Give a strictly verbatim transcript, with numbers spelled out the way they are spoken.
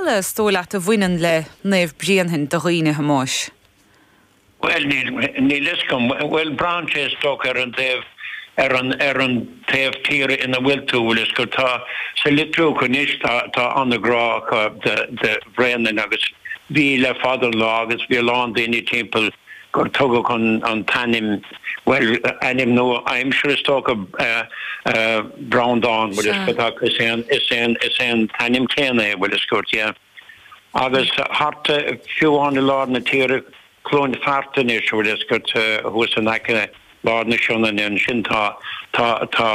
eile is dóigh leat a bhaineann le Naomh Bréanainn do dhaoine, a Thomáis? Bhuel, níl níl fhios agam. Bhuel, braitheann sé is dócha ar an taobh ar an ar an taobh tíre ina bhfuil tú, bhfuil fhios agat. Tá sa Litriúch anois tá tá an-ghrá acu do do Bhréanainn agus bhí le fada an lá agus bhí a lán daoine timpeall gur tugadh an an t-ainm, bhuel, ainm nua aimsire is dócha, Breandán, bhfuil fhios agat, ach is é an is é an is é an t-ainm céanna é, bhfuil fhios agat, yeah. Agus thart fiú amháin i lár na tíre, Cluain Fearta anois, bhfuil fhios agat, thuas in aice lár na Sionainne ansin tá tá tá